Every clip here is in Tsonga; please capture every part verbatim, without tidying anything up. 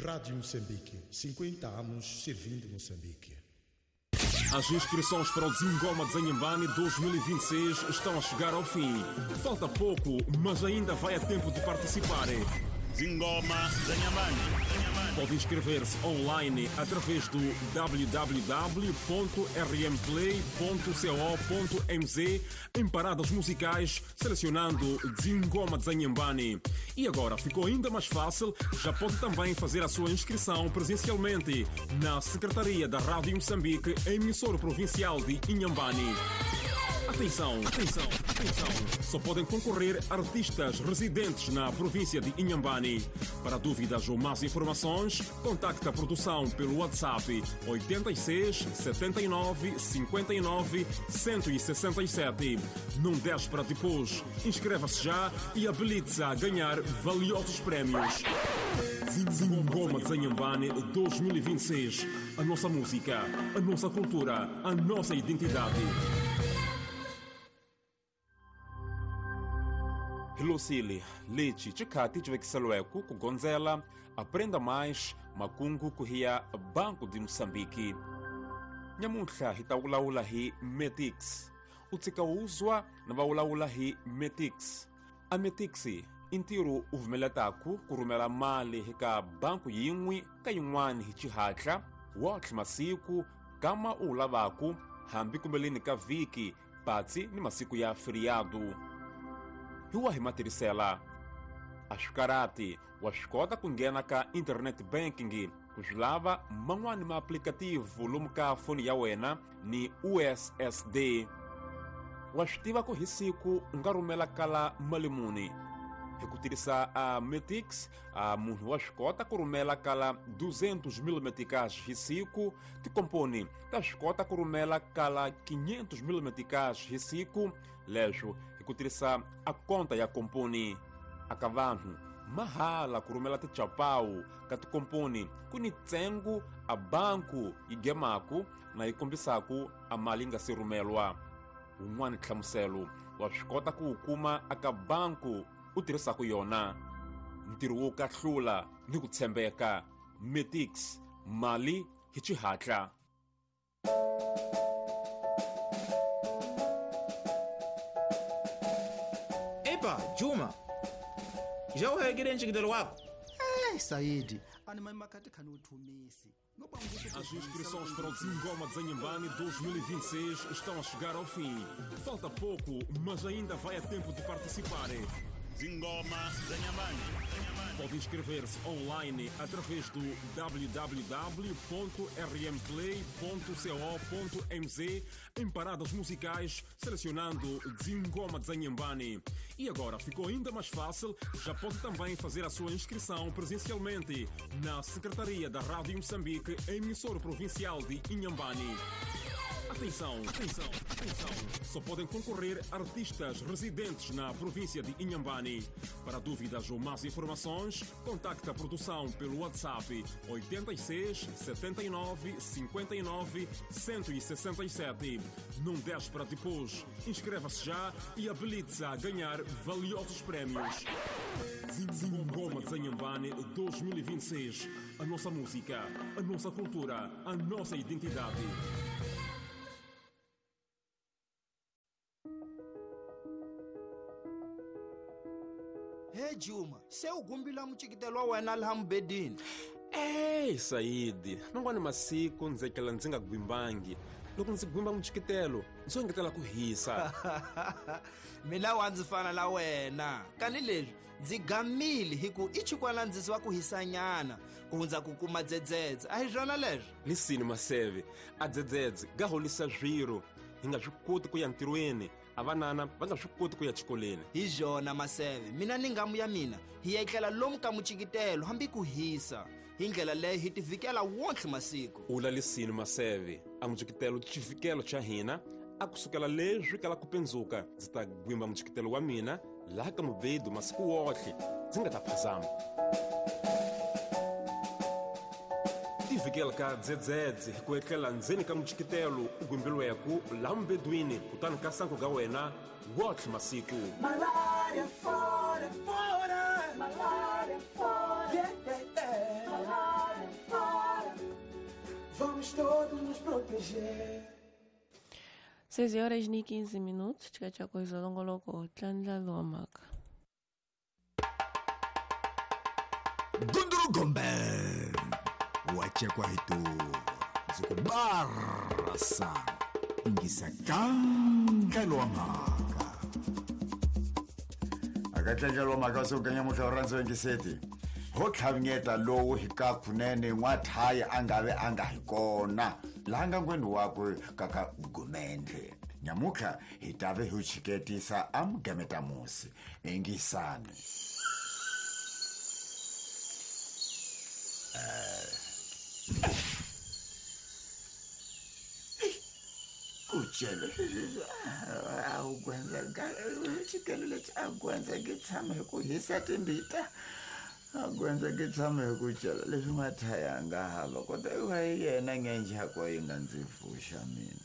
Rádio Moçambique, cinquenta anos servindo Moçambique. As inscrições para o Zingoma de Inhambane dois mil e vinte e seis estão a chegar ao fim. Falta pouco, mas ainda vai a tempo de participar. Zingoma de Inhambane. Pode inscrever-se online através do w w w ponto r m play ponto co ponto m z em paradas musicais, selecionando Zingoma de Inhambane. E agora ficou ainda mais fácil, já pode também fazer a sua inscrição presencialmente na Secretaria da Rádio Moçambique, emissora provincial de Inhambane. Atenção, atenção, atenção! Só podem concorrer artistas residentes na província de Inhambane. Para dúvidas ou mais informações, contacte a produção pelo WhatsApp oitenta e seis, setenta e nove, cinquenta e nove, cento e sessenta e sete. Não deixe para depois. Inscreva-se já e habilite-se a ganhar valiosos prémios. Zingoma de Inhambane dois mil e vinte e seis. A nossa música, a nossa cultura, a nossa identidade. Hilosile, lexi xikhati xi vekiseliweke ku gondzela Aprenda Mais makungu ku hiya Banco de Moçambique. Nyamuntlha hi ta vulavula hi Metix. U tshika wuzwa na va vulavula hi Metix. A Metix i ntirho u vumeletaku ku rhumela mali eka banku yin'we ka yin'wana hi xihatla wotlhe masiku kama u wu lavaku hambi kumbeleni ka vhiki patsi ni masiku ya feriado. Hi wa hi matirhisela a swi karati wa swi kota ku nghena ka internet banking ku swi lava man'wani ma applicative lomu ka foni ya wena ni U S S D. Wa swi tiva ku hi siku u nga rhumela kala mali muni hi ku tirhisa a Metix. A munhu wa swi kota ku rhumela kala duzentos mil meticais hi siku. Tikomponi ta swi kota ku rhumela kala quinhentos mil meticais hi siku. Leswo hi ku tirhisa a konta ya komponi. Aka vanhu mahala ku rhumela tichapawu ka tikomponi ku ni ntsengo a banku yi gemaku na yi kombisaku a mali yi nga se rhumelwa. Wun'wani nhlamuselo wa swi kota ku wu kuma aka banku u tirhisaku yona. Ntirho wo kahlula ni ku tshembeka. Metix, mali hi xihatla. Epa, Juma, já o reguei nxikitelo wako? Eh, Saidi, As inscrições para o Zingoma de Inhambane dois mil e vinte e seis estão a chegar ao fim. Falta pouco, mas ainda vai a tempo de participar. Zingoma de Inhambane. Pode inscrever-se online através do w w w ponto r m play ponto co ponto m z em paradas musicais, selecionando Zingoma de Inhambane. E agora ficou ainda mais fácil, já pode também fazer a sua inscrição presencialmente na Secretaria da Rádio Moçambique, emissora provincial de Inhambane. Atenção, atenção, atenção! Só podem concorrer artistas residentes na província de Inhambane. Para dúvidas ou mais informações, contacte a produção pelo WhatsApp oitenta e seis, setenta e nove, cinquenta e nove, cento e sessenta e sete. Não deixe para depois. Inscreva-se já e habilite-se a ganhar valiosos prémios. Zingoma de Inhambane dois mil e vinte e seis. A nossa música, a nossa cultura, a nossa identidade. Hey Juma, se u gumbila muchikitelo wa wena laha mubedini. Ey, Saidi, man'wani masiku ndzi etlela ndzi nga gwimbangi. Loko ndzi gwimba muchikitelo, ndzi engetela ku hisa. Mina wa ndzi fana la wena. Kani leswi ndzi gamile hi ku i chikwana ndzi wa ku hisanyana ku hundza ku kuma dzedzedze. A hi swona leswi? Lisini maseve, a dzedzedze ga holisa swiro. Hi nga swi koti ku ya ntirhweni. A vanana va nga swi koti ku ya xikolweni. Hi byona maseve, mina ni ngamu ya mina hi etlela lomu ka muchikitelo hambi ku hisa. Hi ndlela leyo hi tivikela wonke masiku. U lalisini maseve, a muchikitelo xivikelo xa hina a kusukela leswi kala ku pendzuka ndzi ta gwimba muchikitelo wa mina laha ka mubedo masiku wohle ndzi nga ta phazama. Tivikela ka dzedzedze ku etlela ndzeni ka muchikitelo u gwimbilweku laha mubedwini kutani ka sanku ka wena wohle masiku. Malaria fora, fora, malaria fora, yeah, yeah, yeah. Vamos todos nos proteger. seis horas e quinze minutos, tchau coisa longo logo, tlandla lomaka. Gunduru Gombe, wachekwa hitu, zikubarasa, ingisa kanga lomaka. Akatlandla lomaka so kanya muhloranzo ingiseti. Ho tlhavnyeta lowu hi ka kunene n'wathaya a nga ve a nga hi kona laha ngangweni wakwe kaka Gumendle. Nyamutlha hi ta ve hi chiketisa a mugameta musi ingisani. Kuchele a wu gwendza chikelo lexi a gwendza nge tshama hi ku hisa timbita. A gwendza nge tshama hi ku chela leswi n'wathaya a nga hava kota wa yena ngenjhako yi nga ndzi pfuxa mina.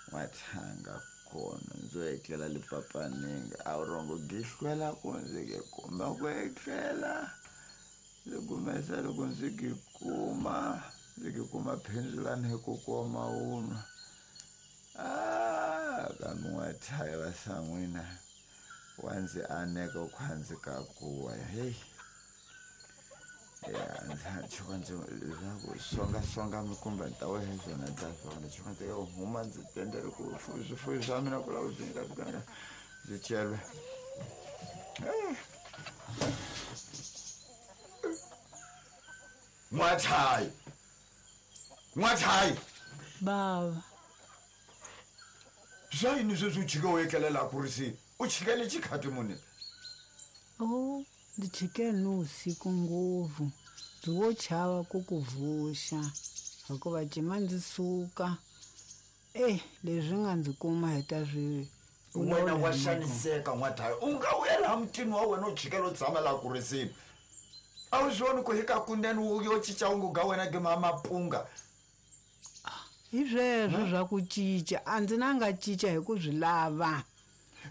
N'wathanga kona ndzo etlela lipapaninga a wu rongo gihlwela ku ndzi ke kuma ku etlela. Ndzi kumesa loko ndzi ki kuma ndzi ki kuma phendzulani hi ku koma wunwa. Ah, kambe n'wathaya va san'wina wa ndzi aneka ku ndzi ka kuwa hey. Ya ndzi chuka ndzi leswaku songa songa mikumba ni ta wehe swona ta swona chuka ndzi huma ndzi tendele ku swifuwo swa mina ku lava ku ndzi nga ndzi chelwe. N'wathaya, n'wathaya baba, swa yini sweswi u chike u etlelela ku ri si u chikele xikhati muni? Oh, ndzi chike ni usiku ngopfu ndzi wo chava ku ku vuxa hikuva cima ndzi suka eh leswi nga ndzi kuma hi ta swi wena wa xaniseka n'wathaya u nga vuya laha mutini wa wena u chikela u tshama laha ku risini. A wu swi voni ku hi ka kunene wu yo cinca wu ga wena ke mapunga. Hi sweswo swa ku cinca a ndzi na nga cinca hi ku swi lava.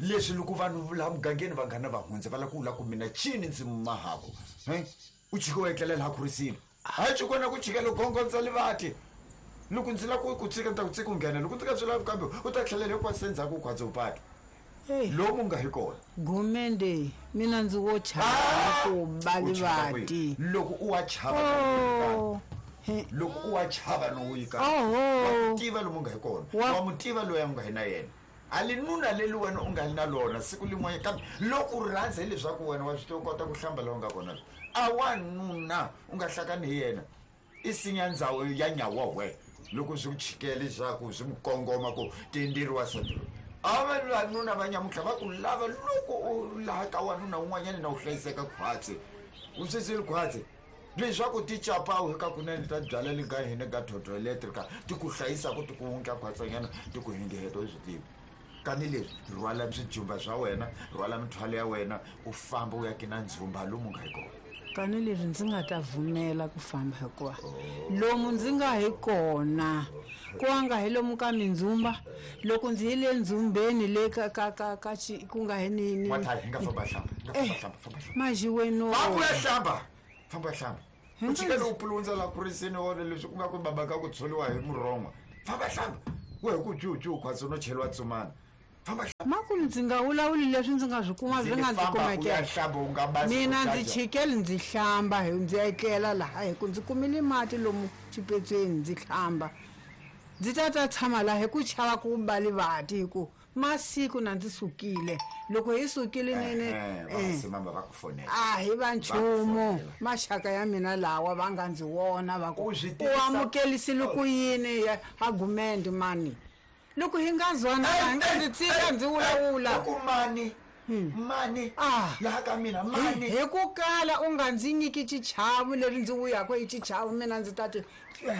Leswi loko vanhu laha mugangeni vanghana va hundza va lava ku vula ku mina cini ndzi mahavo he u chike u etlela laha ku risini. Hayi chikona ku chikela u gongondza livati. Loko ndzi lava ku ku tshika ni ta ku tshika u nghena loko ndzi nga swi lavi kambe u ta tlhelela hinkwaswo endzhaku u khwaze u pata. Lomu nga hi kona. Gumende mina ndzi wo chava ku ba livati. Loko u wa chava loko u wa chava no yi ka. Wa tiva lomu nga hi kona. Wa mu tiva loyi a nga hi na yena. A li nuna leli wena u nga li na lona siku lin'wana kambe loko u rhandza hileswaku wena wa swi tiva u kota ku hlamba laha u nga kona. A wa nuna u nga hlakani hi yena. I sinya ndzhawu ya nyawa we loko swi ku chikela leswaku swi mu kongoma ku tenderiwa sati. A va vanuna va nyamutlha va ku lava loko u laha ka wanuna un'wanyana na u hlayiseka khwatsi. U swisile khwatsi. Leswaku ti capawu hi ka kunene ta byala le ka hina ka Toto Electrica ti ku hlayisa ku ti ku wundla khwatsanyana ti ku hingeheto swi tivi. Kani leswi rhwala swijumba swa wena rhwala mithwalo ya wena u famba u ya kina ndzumba lomu nga hi kona. Kani leswi ndzi nga ta vumela ku famba hikuva lomu ndzi nga hi kona ku nga hi lomu ka mindzumba loko ndzi yile ndzumbeni le ka ka ka ka ku nga hi ni ni n'wathaya hi nga famba hlamba hi nga famba hlamba famba hlamba majiweno famba ya hlamba famba hlamba u chikele u pulundza la ku risini wona leswi ku nga ku baba ka ku tsholiwa hi murhongwa famba hlamba we hi ku juju khwatsi no cheliwa tsumana. Makulu ndzi nga vulavuli leswi ndzi nga swi kuma swi nga ndzi kumekela mina ndzi chikele ndzi hlamba hi ndzi etlela laha hi ku ndzi kumile mati lomu xipetsweni ndzi hlamba ndzi ta ta tshama laha hi ku chava ku ba livati hi ku masiku na ndzi sukile loko hi sukile nene a hi va nchumu maxaka ya mina lawa va nga ndzi vona va ku u amukelisile ku yini a Gumende mani. Loko hi nga zwana hi nga ndzi tshika ndzi vulavula ku mani mani laha ka mina mani hi ku kala u nga ndzi nyiki xichavo leri ndzi vuyaka hi xichavo mina ndzi ta ti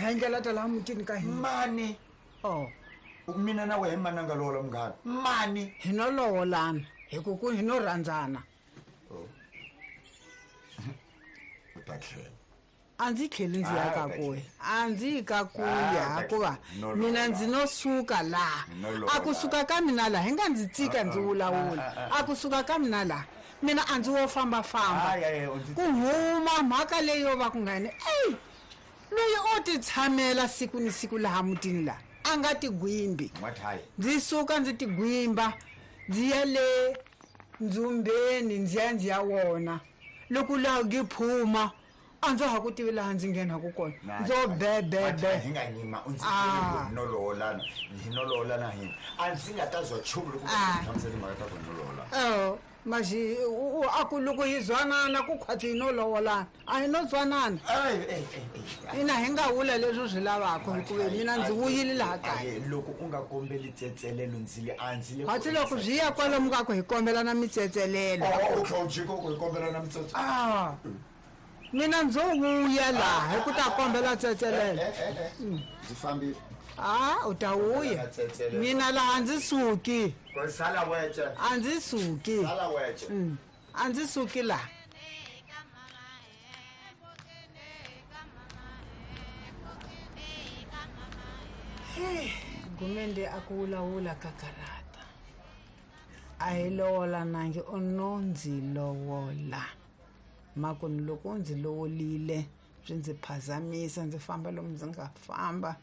hendlela ta laha mutini ka hina mani. Oh mina na wehe mani a nga lovola munghana mani hi no lovolana hi ku ku hi no rhandzana. U ta tlhela a ndzi tlheli ndzi ya ka kuya a ndzi yi ka kuya hikuva mina ndzi no suka laha a kusuka ka mina laha hi nga ndzi tsika ndzi vulavula a kusuka ka mina laha mina a ndzi wo fambafamba ku huma mhaka leyi yo va ku nga ni eyi Loyi o ti tshamela siku ni siku laha mutini la a nga tigwimbi. Ndzi suka ndzi tigwimba ndzi ya le ndzhumbeni ndzi ya ndzi ya wona. Loko laha ngiphuma a ndza ha ku tivi laha ndzi nghenaku kona. Ndzo bebebe. Hi nga nyima u ndzi byele ku nololana hi nololana hina. A ndzi nga ta zwa nchumu loko u hlamusela timhaka ta ku nolola. Oh, maxi a ku loko hi zwanana ku khwatsi hi no lowolana. A hi no zwanana. Ina hi nga vula leswi u swi lavaka hikuva mina ndzi vuyile laha kaya. Loko u nga kombeli tsetselelo ndzi le a ndzi le. Khwatsi loko byi ya kwalomu ka ku hi kombelana mitsetselelo. Oh, u tlhela u jika ku hi kombelana mitsetselelo. Ah. Mina ndzo vuya laha hi ku ta kombela tsetselelo. Ndzi fambile. Ah, u ta vuya. Mina laha ndzi suki. Sala wece. A ndzi suki. Sala wece. A ndzi suki laha. Gumende a ku vulavula ka karata. A hi lovolanangi u no ndzi lovola. Makoni loko ndzi lovolile swi ndzi phazamisa ndzi famba lomu ndzi nga famba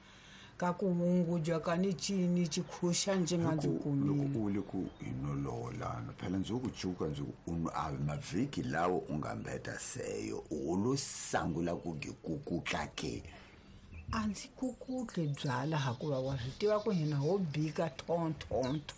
ka ku wunguja ka ni cini xikhuxa ndzi nga ndzi kumile. Loko u le ku hi no lovolana phela ndzi ku cuka ndzi ku a mavhiki lawo u nga mbeta seyo u lo sangula ku gikukutla ke. A ndzi kukutli byala hikuva wa swi tiva ku hina ho bika thonthonto.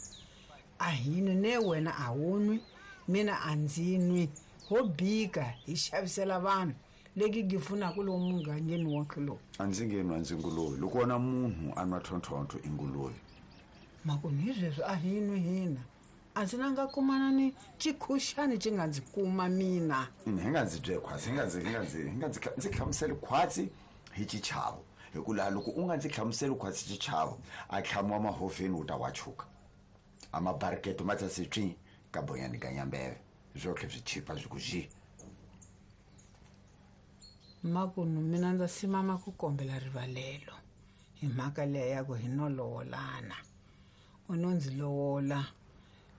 A hi nwi ne wena a wu nwi mina a ndzi nwi. Ho bika hi xavisela vanhu leki gi pfunaka lomu mugangeni wonke lowu. A ndzi nge nwa ndzi nguluve loko wona munhu a nwa thonthonto i nguluve. Makoni hi sweswo a hi nwi hina. A ndzi na nga kumana ni xikhuxani xi nga ndzi kuma mina. Ina hi nga ndzi bye khwatsi hi nga ndzi hi nga ndzi hi nga ndzi ndzi hlamuseli khwatsi hi xichavo hi ku laha loko u nga ndzi hlamuseli khwatsi xichavo a tlhamiwa mahovheni wu ta wa chuka. A mabariketo ma ta se tswi ka bonyani ka nyambeve. Zwotlhe swi chipa swi ku xi. Makunu mina ndza simama ku kombela rivalelo hi mhaka leya ya ku hi no lovolana. U no ndzi lovola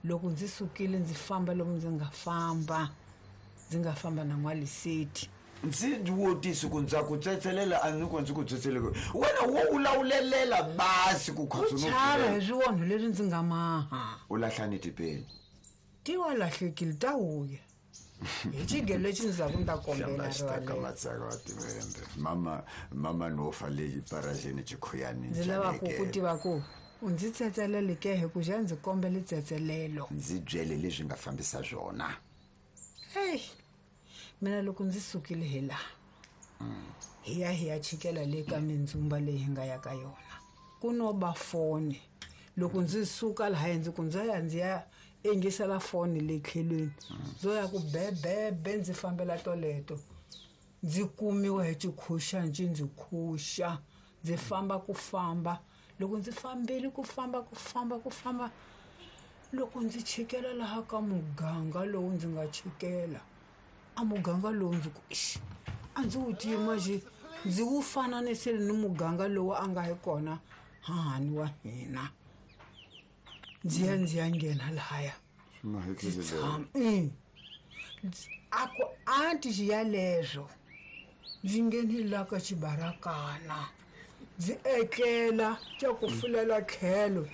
loko ndzi sukile ndzi famba lomu ndzi nga famba ndzi nga famba na n'waliseti. Ndzi wotisi ku ndza ku tsetselela a ni ku ndzi ku tsetselele wena wo wulawulelela basi ku khwatsi no chava hi swiwonho leswi ndzi nga maha. U lahlani tipeni. Ti wa lahlekile ta vuya. Hi xigelo lexi ndzi zaku ni ta kombela rivalelo. Mama mama no fa le parajeni xikhuyani ndzi lava ku ku tiva ku u ndzi tsetselele ke hi ku xa ndzi kombele tsetselelo. Ndzi byele leswi nga fambisa swona. Hey, mina loko ndzi sukile hi laha hi ya hi ya chikela le ka mindzumba leyi hi nga ya ka yona ku no ba foni. Loko ndzi suka laha ndzi ku ndza ya ndzi ya engisela foni le tlhelweni ndzo ya ku bebebe ndzi fambela toleto ndzi kumiwa hi xikhuxa ndzi ndzi khuxa ndzi famba ku famba. Loko ndzi fambile ku famba ku famba ku famba loko ndzi chikela laha ka muganga lowu ndzi nga chikela a muganga lowu ndzi ku ixi a ndzi wu tivi maxi ndzi wu fananisile ni muganga lowu a nga hi kona hahani wa hina. Ndzi ya ndzi ya nghena lahaya ndzi tshama a ku anti xiyaleswo ndzi nghenile la ka xibarakana ndzi etlela xa ku fulela tlhelo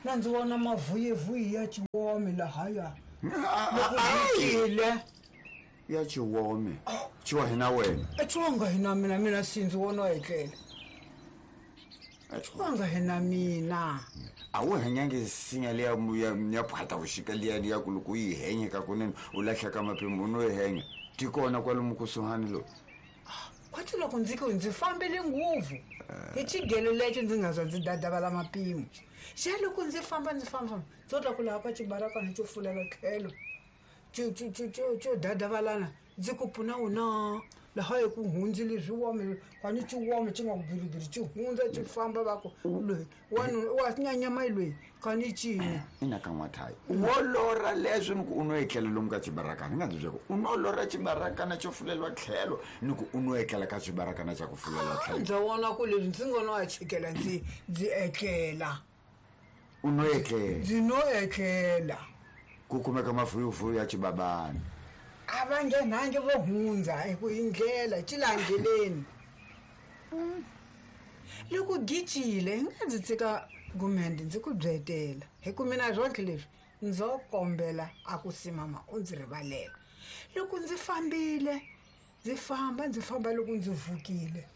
na ndzi vona mavuyivuyi ya xiwome lahaya loko ndzi ya xiwome xiwa hina wena xiwanga hina mina mina si ndzi vona etlela xiwanga hina mina. A wu henyangi sinya liya ya phata vuxika liya ya ku loko u yi henyeka kunene u lahleka mapimo u no yi henya ti kona kwalomu kusuhani lowu. Khwatsi loko ndzi ku ndzi fambile ngopfu hi xigelo lexo ndzi nga zwa ndzi dadavala mapimo xa loko ndzi famba ndzi famba ndzo twa ku laha ka xibarakana xo fulela tlhelo xo dadavalana ndzi ku pfuna wona laha hi ku hundzile swiwome kwani xiwome xi nga ku girigiri xi hundza xi famba va ku loyi wanuna wa nyanyama loyi kani cini. Ina ka n'wathayi wo lorha leswi ni ku u no etlela lomu ka xibarakana hi nga ndzi byela ku u no lorha xibarakana xo fuleliwa tlhelo ni ku u no etlela ka xibarakana xa ku fuleliwa tlhelo. Ndza vona ku leswi ndzi ngo no a chikela ndzi ndzi etlela. U no etlela. Ndzi no etlela. Ku kumeka mavuyivuyi ya xibabana. A va nghenangi vo hundza hi ku hi ndlela xi la ndleleni. Loko gicile hi nga ndzi tshika Gumende ndzi ku byetela hi ku mina swonke leswi ndzo kombela a ku simama u ndzi rivalela. Loko ndzi fambile ndzi famba ndzi famba loko ndzi vukile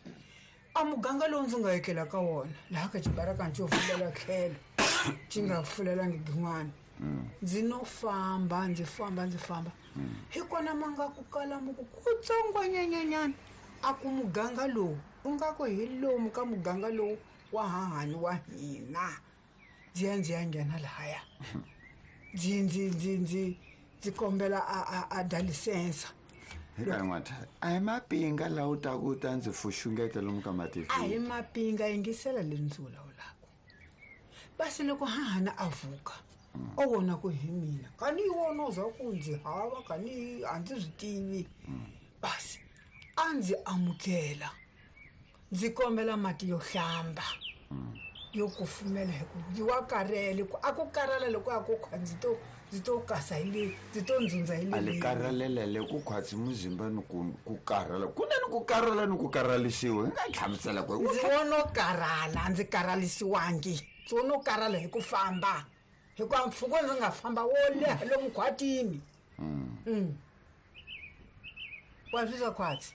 a muganga lowu ndzi nga etlela ka wona laha ka xibaraka xo fulela tlhelo xi nga fulelangi gin'wana ndzi no famba ndzi famba ndzi famba hi kona ma nga ku kala muku kutsongwanyananyana a ku muganga lowu u nga ku hi lomu ka muganga lowu wa hahani wa hina ndzi ya ndzi ya nghena lahaya ndzi ndzi ndzi ndzi ndzi kombela a a a dalisensa. Hi n'watha a hi mapinga laha u taku u ta ndzi fuxungeta lomu ka mativini. A hi mapinga yingisela leswi ndzi vulavulaka. Basi loko hahana a vuka o vona ku hi mina kani yi wona u za ku ndzi hava kani a ndzi swi tivi. Basi a ndzi amukela ndzi kombela mati yo hlamba yo kufumela hi ku ndzi wa karhele ku a ku karhala loko a ku kha ndzi to ndzi to kasa hi le ndzi to ndzundza hi le a le karhalela le ku khwatsi muzimba ni ku ku karhala ku na ni ku karhala ni ku karhalisiwa hi nga hlamusela ku ndzi wono karhala ndzi karhalisiwangi ndzi wono karhala hi ku famba hikuva mpfhuka ndzi nga famba wo leha lomu khwatini. Wa swi swa khwatsi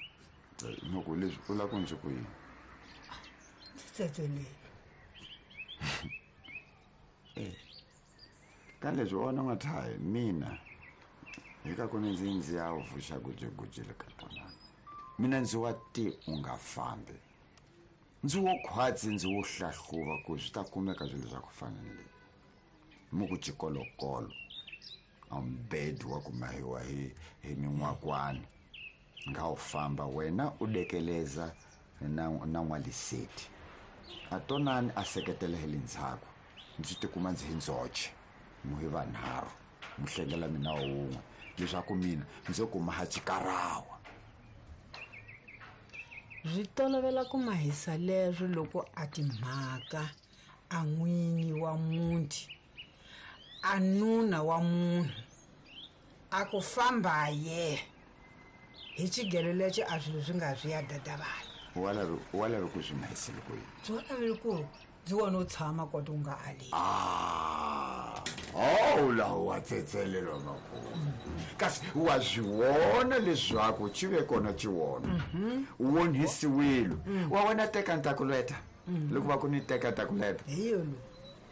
loko leswi u lava ku ndzi ku yini ndzi tsetseleli. Eh ka leswi wona n'wathayi mina hi ka ku ni ndzi ndzi ya vuxa gujeguje le ka tona mina ndzi wa ti u nga fambi ndzi wo khwatsi ndzi wo hlahluva ku swi ta kumeka swilo swa ku fana ni leyi mu ku xikolokolo a mbedi wa ku mahiwa hi hi min'wakwani nga u famba wena u dekeleza na na n'waliseti a tonani a seketela hi le ndzhaku ndzi tikuma ndzi hi ndzoxe mu hi vanharhu mu hlengela mina wun'we leswaku mina ndzo kuma ha xikarawa. Swi tolovela ku mahisa leswo loko a timhaka a n'winyi wa muti a nuna wa munhu a ku famba ye hi xigelo lexi a swilo swi nga swi ya dadavala. Wa lavi wa lavi ku swi mahisile ku yini? Byi wa laveli ku ndzi wona u tshama kota u nga ali. Ah, oh laha wa tsetselelwa makulu kasi wa swi vona leswaku xi ve kona xi wona u onhisiwile wa wena teka ntakuleta loko va ku ni teka ntakuleta hi yolo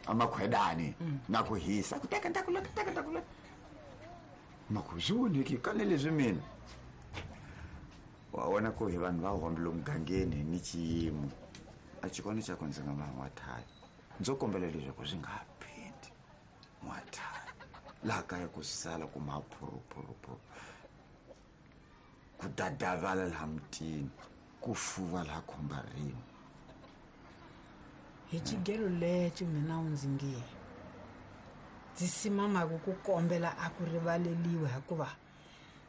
a makhwedani na ku hisa ku teka ntakuleta teka ntakuleta maku swi voneki kane leswi mina wa vona ku hi vanhu va hombile mugangeni ni xiyimo a xikona xa ku ndzi nga ma n'wathayi ndzo kombela leswaku swi nga ha phindi n'wathayi laha kaya ku sala ku maphurupurupuru ku dadavala laha mutini ku fuva laha khombarini. Hi xigelo lexi mina u ndzi nge ndzi simamaku ku kombela a ku rivaleliwa hikuva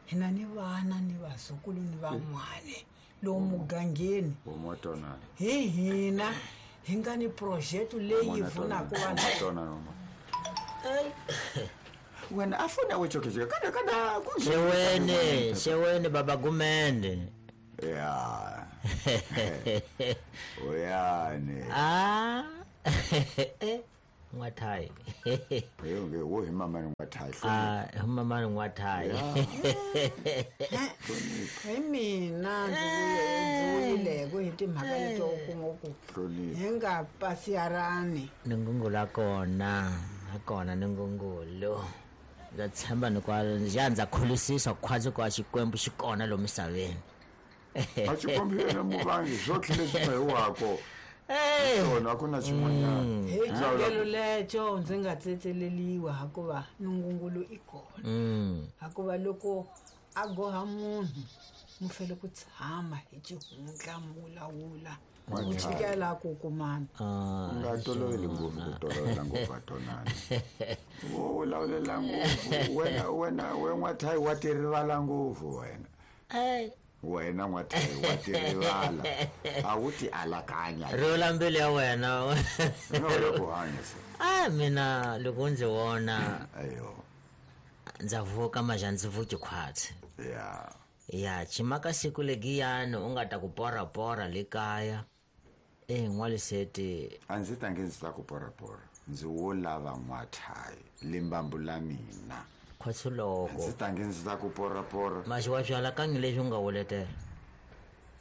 hina ni vana ni vazukulu ni van'wana lowu mugangeni hi hina hi nga ni project leyi pfunaka vanhu. Wena a fona we chokecheke kana kana ku xewene xewene baba Gumende. Ya oyane ah n'wathayi eyo nge wo hi mama n'wathayi ah hi mama n'wathayi hi mina ndzi vuyile ku hi timhaka leto kuma ku hi nga pasiyarani ni ngungula kona a kona ni ngungulo ndza tshemba ni kwa ya ndza kholisisa khwazi kwa Xikwembu xi kona lomu misaveni a Xikwembu yena muvangi swotlhe leswi nga hi wako swona a ku na xin'wanyana. Hi xigelo lexo ndzi nga tsetseleliwa hikuva nungungulu i kona hikuva loko a goha munhu mu fele ku tshama hi xihundla mu vulavula ku chikela ku kumana. U nga toloveli ngopfu ku tolovela ngopfu a tonani wo vulavula ngopfu wena wena we n'wathayi wa ti rivala ngopfu wena wena n'wathayi wa ti rivala a wu ti alakanya rivula mbilu ya wena no ku hanya se a mina loko ndzi vona ayo ndza vuka maja ndzi vuki khwatsi ya Ya chimaka siku legiyani u nga ta ku porapora le kaya e n'waliseti a ndzi tange ndzi ta ku porapora ndzi wo lava n'wathayi limbambu la mina khwatsuloko ndzi tange ndzi ta ku porapora maxi wa byala kangi leswi u nga wuletela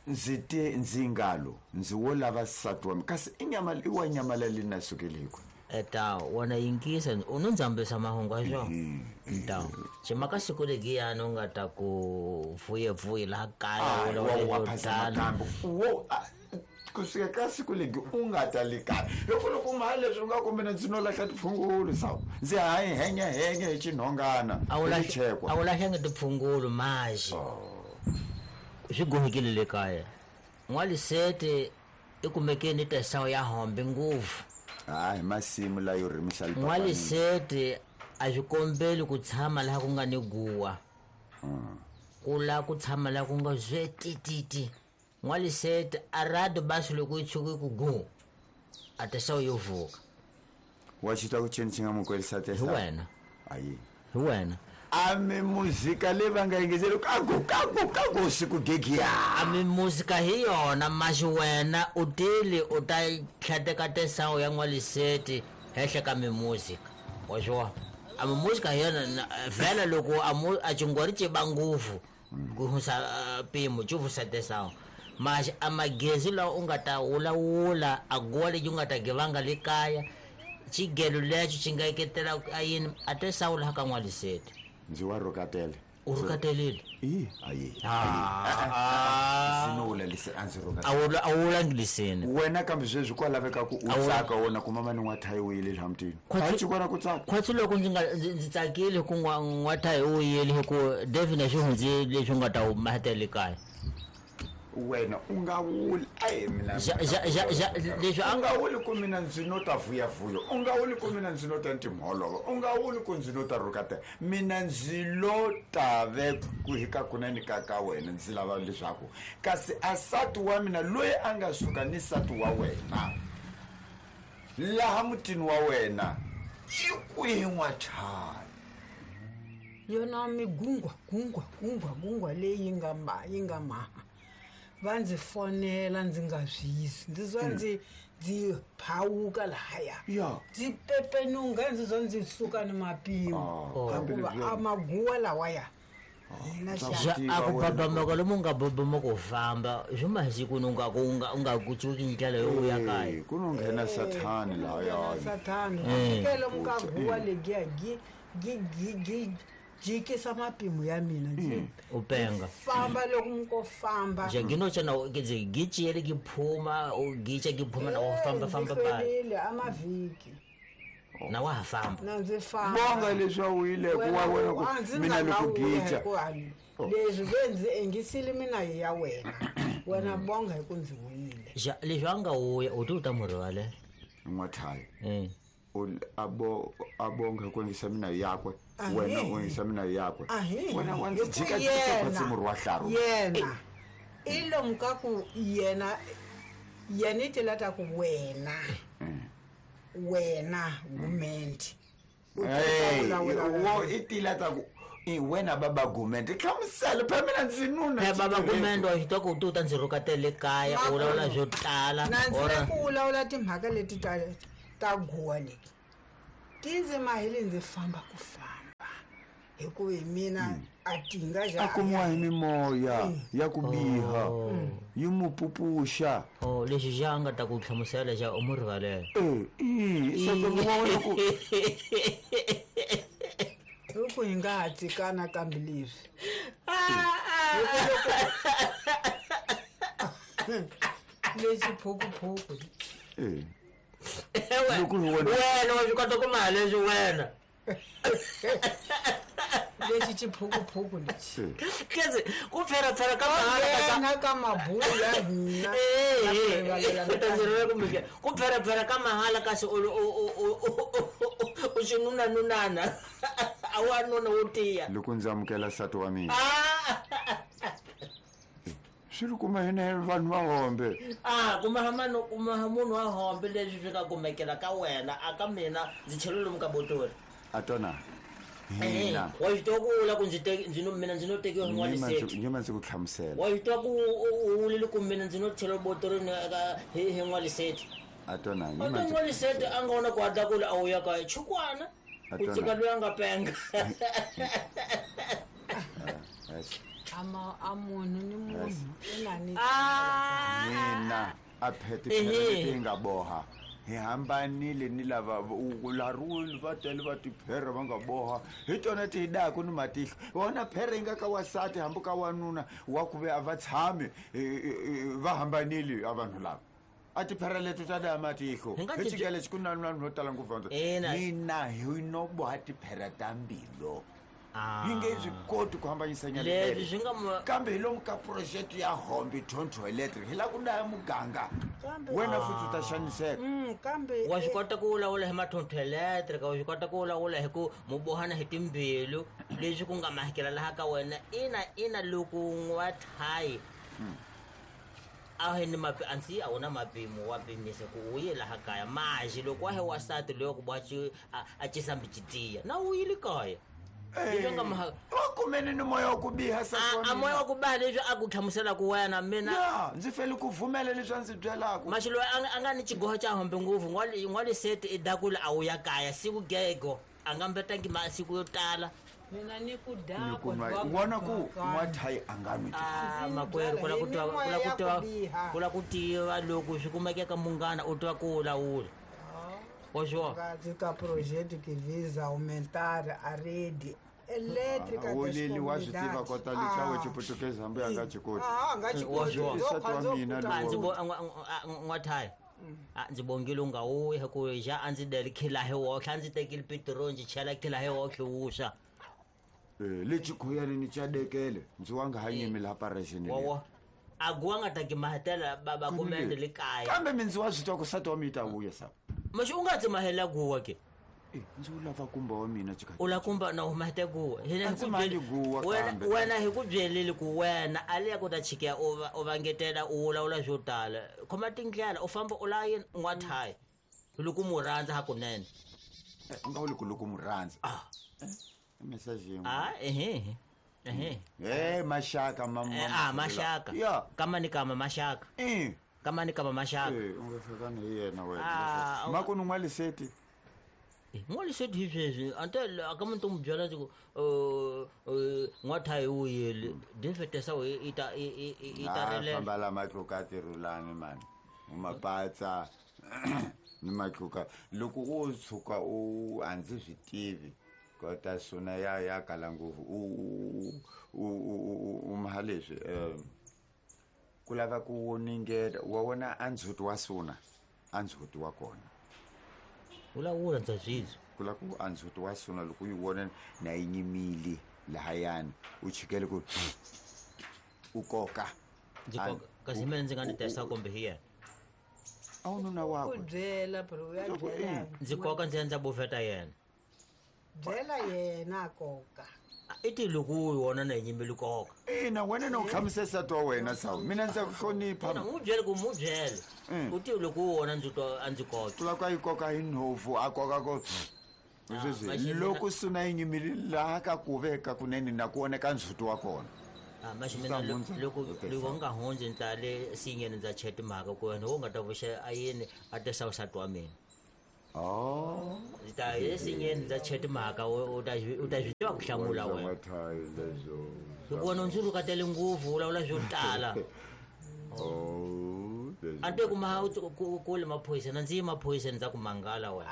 ndzi te ndzi ngalo ndzi wo lava nsati wa mina kasi i nyama i wa nyamala leyi na sukeliku eta wona yingisa u no ndzambisa mahungu a swona nta chimaka siku legiyani u nga ta ku vuyevuye laha kaya wa phasa makambe wo kusuka ka siku legi u nga ta le kaya loko loko maha leswi u nga ku mina ndzi no lahla tiphungulu sawu ndzi hayi henya henya hi xinhongana a wu lahlangi tiphungulu maxi swi gohekile le kaya n'walisete i kumekeni tesawu ya hombe ngopfu hayi masimu layo rimisa n'walisete a swi kombeli ku tshama laha ku nga ni guwa ku la ku tshama laha ku nga zwetititi n'walisete a rado basi loko yi tshuka ku gu a tesawu yo vuka wa xi twa ku chini xi nga mu kwelisa hi wena ayi hi wena a mi muzika leyi va nga yingiseli kagu kagu kagu siku gegiya a mi muzika hi yona maxi wena u tile u ta tlhateka tesawu ya n'waliseti henhla ka mimuzika wa swi vona a mimuzika hi yona vhela loko a mu a chingwari ci ba ngopfu ku hunsa mpimo ci vusa tesawu maxi a magezi lawa u nga ta wulawula a guwa lexi u nga ta givanga le kaya xigelo lexo xi nga eketela a yini a tesawu laha ka n'waliseti ndzi wa rhukatele u rhukatelile i ayi ndzi no wula lise a ndzi rhukatela a wu wulangiliseni wena kambe sweswi kwa laveka ku u tsaka wona ku mama ni n'wathayi u yile laha mutini a xi kona ku tsaka khwatsi loko ndzi nga ndzi tsakile ku n'wathayi u yile hi ku David swi hundzi leswi u nga ta mahetele kaya wena u nga wuli ayi mina leswi a nga wuli ku mina ndzi no ta vuyavuya u nga wuli ku mina ndzi no ta ntimholova u nga wuli ku ndzi no ta rhukatela mina ndzi lo ta ve ku hi ka kunene ka ka wena ndzi lava leswaku kasi a nsati wa mina loyi a nga suka ni nsati wa wena laha mutini wa wena i kwihi n'wathayi yona migungwa gungwa gungwa gungwa leyi nga ma yi nga maha va ndzi fonela ndzi nga zwisi ndzi zwa ndzi ndzi phawuka lahaya ndzi pepenunga ndzi zwa ndzi suka ni mapimo hikuva a maguwa lawaya a ku babamuka lomu nga babamuka u famba swi masiku u nga ku u nga u nga ku cuki ndlela yo vuya kaya ku no nghena sathani lahaya sathani fikele muka guwa legiya gi gi gi gi jikisa mapimo ya mina ndzi u penga famba loko muko famba nje nginotsha ngize gijiyele giphuma gitsha giphuma na famba famba ba amavhiki na wa ha famba na ndzi famba bonga leswi a wuyile ku wa wena ku mina loko gicha leswi ve ndzi engisile mina hi ya wena wena bonga hi ku ndzi wuyile ja leswi a nga wuya u ti u ta mu rivalela n'wathayi abo abonga ku engisa mina yakwe wena u engisa mina yakwe wena wa ndzi jika jika khwatsi murhi wa hlaru yena i lomu ka ku yena yena i tela ta ku wena wena gumende wo i tila ta ku i wena baba gumende hlamusela phela mina ndzi nuna baba gumende wa xi twa ku u ta ndzi rhukatele kaya u vulavula swo tala na ndzi le ku vulavula timhaka leti ta ta guwa leti ti ndzi mahile ndzi famba ku famba hikuva hi mina a tinga a kumiwa hi mimoya ya ku biha yi mu pupuxa oh lexi xa a nga ta ku hlamusela xa u mu rivalela e se ku wa wena ku loko hi nga ha tsikana kambe leswi lexi phukuphuku e wena wa swi kota ku maha leswi wena lexi xiphukuphuku lexi kezi ku pferapfera ka mahala ka mabulo ya hina ku pferapfera ka mahala kasi u xi nunanunana a wa nuna wo tiya loko ndzi amukela nsati wa mina swi ri kuma hina vanhu va hombe a kuma mano kuma munhu wa hombe leswi swi nga kumekela ka wena a ka mina ndzi chele lomu ka botori a tona Hina wa swi tiva ku u la ku ndzi teki ndzi no mina ndzi no tekiwa hi n'waliseti nyima ndzi ku hlamusela wa swi tiva ku u vulile ku mina ndzi no chela botorini eka hi hi n'waliseti a tona a nyima to n'waliseti a nga vona ku hatla kule a wu ya kaya chukwana ku tshika loyi a nga penga ama a munhu ni munhu i na ni mina a phete phete nga boha hi hambanile ni lava laruli va tele va tiphere va nga boha hi tona ti hi daku ni matihlo wona phere yi nga ka wasati hambi ka wanuna wa ku ve a va tshami va hambanile a vanhu lava a tiphere leto ta daya matihlo hi xikele xi ku na vanhu vo tala ngopfu hina hi no boha tiphere ta mbilo hi nge swi koti ku hambanyisanya kambe hi lomu ka project ya hombi tonto electric hi lava ku daya muganga wena futhi u ta xaniseka kambe wa swi kota ku vulavula hi mathonto electric wa swi kota ku vulavula hi ku mu bohana hi timbilu leswi ku nga mahikela laha ka wena ina ina loko n'wathayi a hi ni mapi ansi a wu na mapimo wa pimisa ku u ye laha kaya maji loko wa he wasati loyi ku boha a cisambi citiya na u yile kaya wa kumene ni moya wa ku biha a moya wa ku biha leswi a ku hlamusela ku wena mina ya ndzi fele ku vumela leswi a ndzi byelaka maxi loyi a nga ni xigoho xa hombe ngopfu n'waliseti i dakule a wu ya kaya siku gego a nga mbetangi masiku yo tala mina ni ku dakwa vona ku n'wathayi a nga nwi makwerhu ku la ku twa ku la ku twa ku la ku tiva loko swi kumekeka munghana u twa ku wulawula Ka projeto que visa aumentar a rede elétrica das comunidades. Wa swi tiva kota lika wa xiputukezi hambi a nga xi koti. Ah, nga xi koti. Nsati wa mina ndzi bo n'wathayi a ndzi bongile u nga wuyi hi ku xa a ndzi deli khila hi woxe a ndzi tekile pitiroli ndzi chela khila hi woxe wuswa lexi khuyani ni cadekele ndzi wa nga ha nyimi laha parexini wowo a guwa nga taki mahetela baba kumende le kaya kambe mindzi wa swi twa ku nsati wa mina ta vuya sa maxi u nga tsi mahela guwa ke ndzi u lava kumba wa mina u la kumba na u mahete guwa hina hi guwa kambe wena hi ku byelile ku wena a le ya ku ta chikeya u vangetela u vulavula swo tala khoma tindlela u famba u la yini n'wathayi loko mu rhandza hakunene u nga vuli ku loko mu rhandza message yin'we ah ehe ehe eh maxaka ah maxaka kama ni kama maxaka eh kama ni kama maxaka eh u nga hlakani hi yena wena mako ni n'waliseti n'waliseti hi sweswi ante a ka muntu mu byela ndzi ku n'wathayi wu yile dinfetesa i ta i ta rilela famba la matluka tirhulani mani u mapatsa ni matluka loko u tshuka u a ndzi swi tivi kota suna ya ya kala ngopfu u u u maha leswi ku lava ku voningela wa vona a ndzhuti wa suna a ndzhuti wa kona vulavula ndza swizwa ku lava ku a ndzhuti wa suna loko u yi vona na yi nyimile lahayani u chikele ku u koka ndzi koka kasi mina ndzi nga ni testa kumbe hi yena a wu nuna wakwe ku byela bro ya byela ndzi koka ndzi endla bufeta yena byela yena koka i ti loko u wona na yinyimeli koka ina wena na u hlamusela nsati wa wena sawu mina ndza ku hlonipha n'wi byele ku mu byele u ti loko u wona ndzi twa a ndzi koka ku lava ku a yi koka hi nhovu a koka ko sweswi loko suna yi nyimile laha ka ku veka kunene na ku oneka ndzhuti wa kona maxi mina loko loko nga hundzi ndza le sinyeni ndza chela timhaka ku wena wo nga ta vuxa a yini a tesa nsati wa mina Oh, ndzi ta esinyeni ndza chela timhaka u ta u ta swi tiva ku hlamula wena hikuva wena u ndzi rhukatele ngopfu vulavula swo tala a te kuma kule maphoyisa ndzi yi maphoyiseni ndza ku mangala wena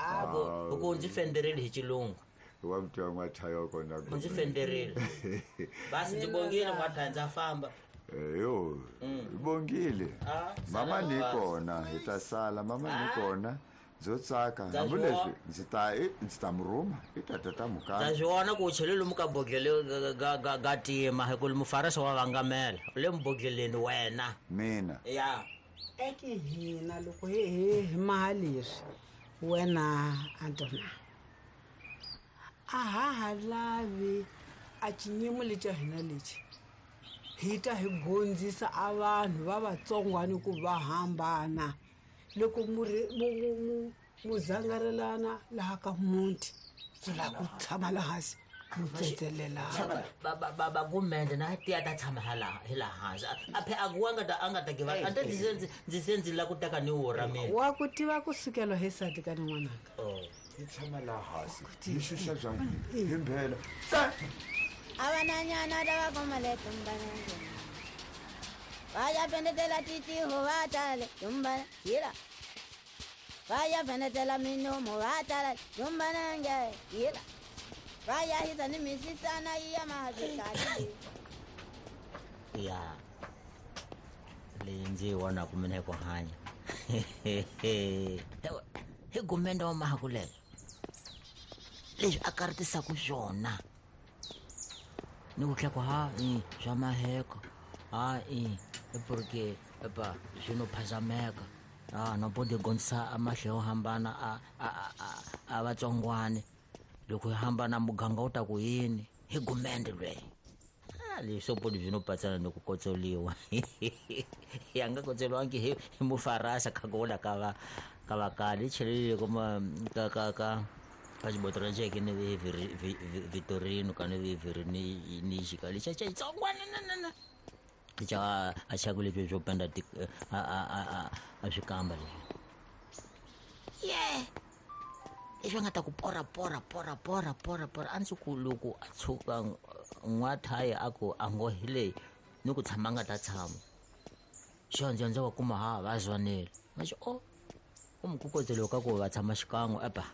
hi ku ndzi fenderile hi xilungu wa mutwa n'wathayi wa kona u ndzi fenderile basi ndzi bongile n'wathayi ndza famba yo hi bongile mama ni kona hi ta sala mama ni kona ndzo tsaka hambileswi ndzi ta ndzi ta murhuma i ta tata mukaya ndza swi vona ku u chele lomu ka bodlele ga ga ga tima hi ku mufarisi wa vangamela u le mubodleleni wena mina ya eki hina loko hi hi hi maha leswi wena Antona a ha ha lavi a xinyimo lexi hina lexi hi ta hi gondzisa a vanhu va vatsongwani ku va hambana loko mu mu mu zangarelana laha ka muti swi lava ku tshama la hansi Mutsetselela ba ba ba gumende na ti ta tshama hala hi la hansi a phe a ku nga ta a nga ta give a ta ndzi ndzi se ndzi la ku teka ni wora mina wa ku tiva ku sukela hi sati ka n'wananga oh hi tshama la hansi hi xuxa bya hi mbhela tsa abananyana lava komale tumbana vaya pendetela titiho vatale tumbana yila vaya pendetela minomo vatale tumbana nge yila vaya hisa ni misisana iya mahazikali ya leyi ndzi yi vonaku mina hi ku hanya hi gumende wa mahakulelo leswi a karitisaku swona ni ku tlha ku ha i swa maheko ha i porque epa swi no phazameka a no podi gondisa a mahlo yo hambana a a a a vatsongwane loko hi hambana muganga wu ta ku yini hi gumende lweyi a leswi swo podi byi no patsana ni ku kotsoliwa ya nga kotsoliwangi hi hi mufarasa kha ku vula ka va ka va kale yi chelelile kuma ka ka ka ka xibotoro xeke ni Vitorino ka ni Virini ni xika lexa xa xitsongwana na na na xa a xaku leswi swo penda ti a a a a swi kamba leswi ye leswi a nga ta ku pora pora pora pora pora pora a ndzi ku loko a tshuka n'wathayi a ku a ngo hi leyi ni ku tshama a nga ta tshama xondzo ndzi wa kuma ha va zwanile ma xi o u mukukotseloko ka ku va tshama xikan'we epa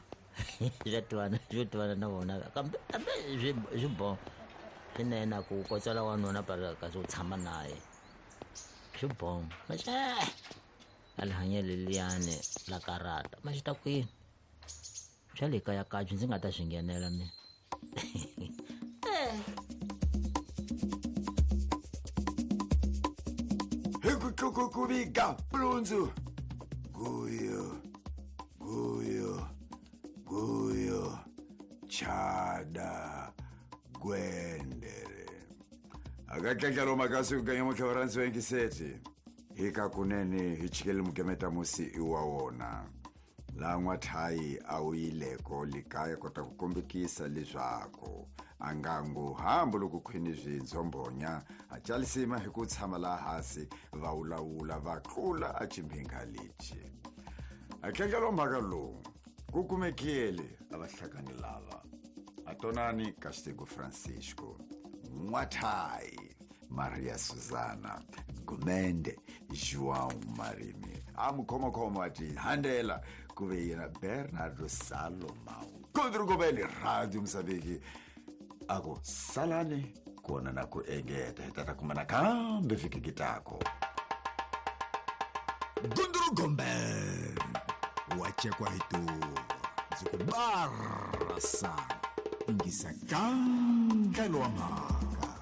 swa tivana swo tivana na vona kambe kambe swi swi bo swinene ku kotsela wanuna para kasi u tshama naye swi bo maxe a li hanyele liyani la karata ma xi ta kwini swa le kaya kabyi ndzi nga ta swi nghenela mina hi ku tlukukuviga pulundzu guyo guyo guyo chada gwendere akatlatlalo makasi ku kanya mutlhavaransi wa yingiseti hi ka kunene hi chikele mugemeta musi i wa wona laha n'wathayi a wu yileko likaya kota ku kombekisa leswaku a nga ngo hambi loko khwini swindzombonya a calisima hi ku tshama laha hansi va wulawula va tlula a chimbhinga lexi a tlangelo mhaka lowu ku kumekile a va hlakani lava a tonani Castigo Francisco N'wathayi Maria Susana Gumende João Marimi a mukhomakhoma wa ti handela ku ve yena Bernardo Salomão Kondrugobeli Radio Mozambique a ku salani kona na ku engeta hi ta ta kuma nakambe vhiki kitako Gundurugombe wa chekwa hi tuva ndzi ku barasa ingisa kandlelo wa mhaka.